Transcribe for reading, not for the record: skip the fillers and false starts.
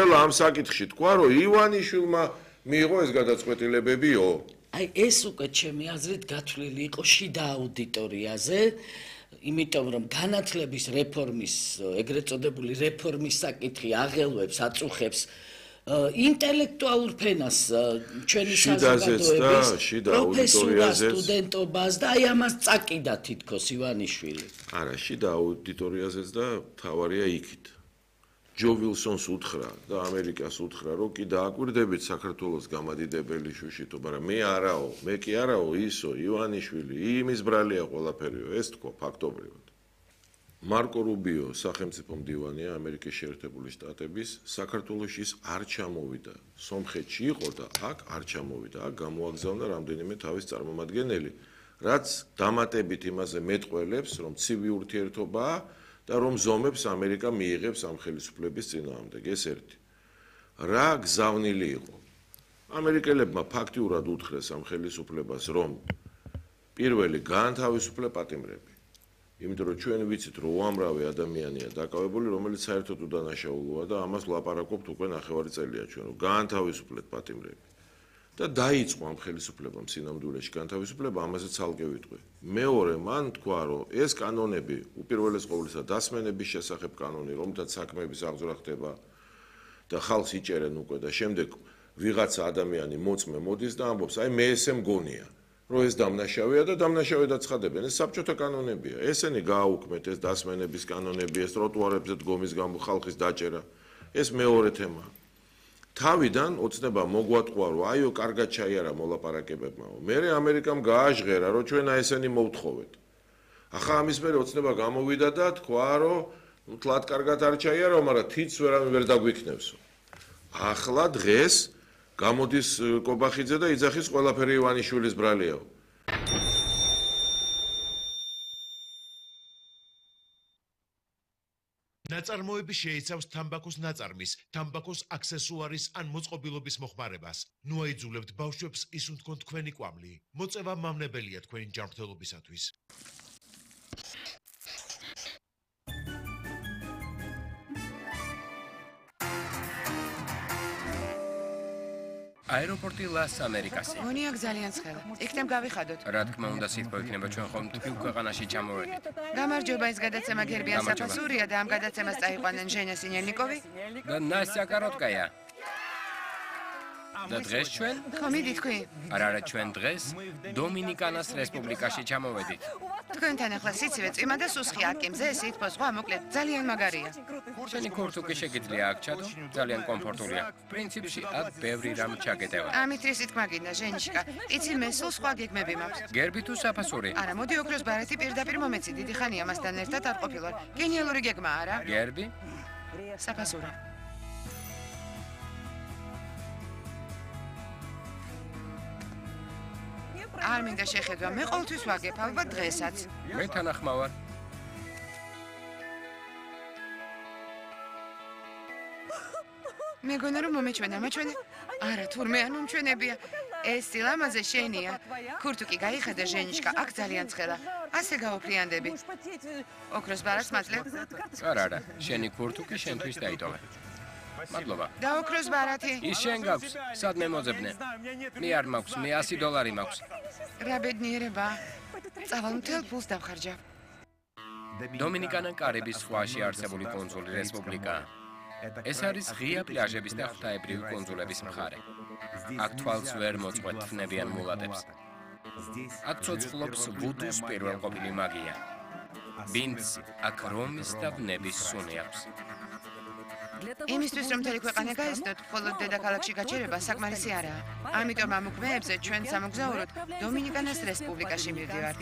ყველა ამ საკითხში თქვა, რომ ივანიშვილმა მიიღო ეს გადაწყვეტილებებიო. აი ეს უკვე ჩემი აზრით გათვლილი იყო შიდა აუდიტორიაზე, იმიტომ რომ განათლების რეფორმის, ეგრეთ წოდებული რეფორმის საკითხი აღელვებს, აწუხებს ინტელექტუალურ ფენას ჩვენი საზოგადოების პროფესორას, სტუდენტობას და აი ამას წაკიდა თითქოს ივანიშვილი. არა, შიდა აუდიტორიაზეც და თავარია იქით. ჯო ვილსონს უთხრა და ამერიკას უთხრა, რომ კი დააკვირდებით საქართველოს გამადიდებელი შუშიტო, მაგრამ მე კი არაო ისო ივანიშვილი, იმის ბრალია ყველაფერიო, ეს თქვა ფაქტობრივად. მარკო რუბიო, სახელმწიფო მდივანია ამერიკის შეერთებული შტატების, საქართველოში ის არ ჩამოვიდა. სომხეთში იყო და აქ არ ჩამოვიდა. აქ გამოაგზავნა რამდენიმე თავის წარმომადგენელი, რაც დამატებით იმაზე მეტყველებს, რომ ცივი ურთიერთობაა და რომ ზომებს ამერიკა მიიღებს ამ ხელისუფლების წინააღმდეგ. ეს ერთი. რა გზავნილი იყო? ამერიკელებმა ფაქტიურად უთხრეს ამ ხელისუფლებას, რომ პირველი გაანთავისუფლე პატიმრები. იმიტომ რომ ჩვენ ვიცით, რომ უამრავი ადამიანია დაკავებული, რომელიც საერთოდ უდანაშაულოა და ამას ვლაპარაკობთ უკვე ნახევარი წელია ჩვენ, რომ გაანთავისუფლეთ პატიმრები. და დაიწყო ამ ხელისუფლებამ სინამდვილეში განთავისუფლება, ამაზე ცალკე ვიტყვი. მეორე, მან თქვა, რომ ეს კანონები, უპირველეს ყოვლისა დასმენების შესახებ კანონი, რომლითაც საქმეების აღძვრა ხდება და ხალხს იჭერენ უკვე და შემდეგ ვიღაცა ადამიანი მოწმე მოდის და ამბობს, აი მე ესე მგონია, რომ ეს დამნაშავეა და დამნაშავე დაცხადებენ. ეს საბჭოთა კანონებია. ესენი გააუქმეთ ეს დასმენების კანონები, ეს ტროტუარებზე დგომის გამო ხალხის დაჭერა. ეს მეორე თემაა. თავიდან ოცნება მოგვატყვა, რომ აიო კარგად ჩაიარა მოლაპარაკებებმაო. მერე ამერიკამ გააჟღერა, რომ ჩვენ ესენი მოვთხოვეთ. ახლა ამის მერე ოცნება გამოვიდა და თქვა, რომ თლად კარგად არ ჩაიარო, მაგრამ თიც ვერ დაგვიქნევსო. ახლა დღეს გამოდის კობახიძე და იძახის ყველაფერი ივანიშვილის ბრალიაო. ნაწარმოები შეიცავს თამბაქოს ნაწარმის, თამბაქოს აქსესუარის ან მოწყობილობის მოხმარებას. ნუ აიძულებთ ბავშვებს ისუნ თქვენ თქვენი კვამლი. მოწევა მავნებელია თქვენი ჯანმრთელობისათვის. აეროპორტი ლას ამერიკასი. მონიაკ ძალიან ცხელა. იქნებ გავიხადოთ. რა თქმა უნდა, სიტყვა იქნება ჩვენ ხომ თბილ ქვეყანაში ჩამოვედით. გამარჯობა, ეს გადაცემა გერბიან საფასურია და ამ გადაცემას წაიყვანენ ჟენა სინელნიკოვი და ნასტია კაროტკაია. და დღეს ჩვენ? ხო, მიდი თქვი. არა, ჩვენ დღეს დომინიკანას რესპუბლიკაში ჩამოვედით. თქვენთან ახლა სიცივე წვიმა და სუსხი აკიმზე სითბო სხვა მოკლედ ძალიან მაგარია. შენი ქურთუკი შეგიძლია აქ ჩადო, ძალიან კომფორტულია. პრინციპში აქ ბევრი რამ ჩაგეტევა. ამით რის თქმა გინდა, ჟენიშკა. იცი მე სულ სხვა გეგმები მაქვს. გერბი თუ საფასური? არა, მოდი ოქროს ბარათი პირდაპირ მომეცი, დიდი ხანია მასთან ერთად არ ყოფილვარ. გენიალური გეგმა არა? გერბი? საფასური. არ მინდა შეხედვა, მე ყოველთვის ვაგებ, ალბათ დღესაც. მე თანახმავარ. მეგონა რომ მომეჩვენა, მაჩვენე. არა, თურმე არ მომჩვენებია. ეს სილამაზე შენია. ქურთუკი გაიხადა ჟენიშკა, აქ ძალიან ცხელა. ასე გავაფრიანდები. ოქროს ბარათს მადლებ. არა, შენი ქურთუკი შენთვის დაიტოვე. მადლობა. და ოქროს ბარათი? ის შენ გაქვს, სადმე მოძებნე. მე არ მაქვს, მე $100 მაქვს. რა ბედნიერება. წავალ მთელ ფულს დავხარჯავ. დომინიკანა კარიბის ზღვაში არსებული კუნძული რესპუბლიკაა. ეს არის ღია პლაჟების და ღვთაებრივი კუნძულების მხარე. აქ თვალს ვერ მოწყვეტ თნებიან მულატებს. აქ ცოცხლობს ვუდუს პირველყოფილი მაგია. ბინდს აქ რომის და ვნების სუნი აქვს. იმისთვის რომ მთელი ქვეყანა გაეცნოთ, მხოლოდ დედაქალაქში გაჩერება საკმარისი არაა. ამიტომ ამ უქმეებზე ჩვენ სამოგზაუროდ დომინიკანას რესპუბლიკაში მივდივართ.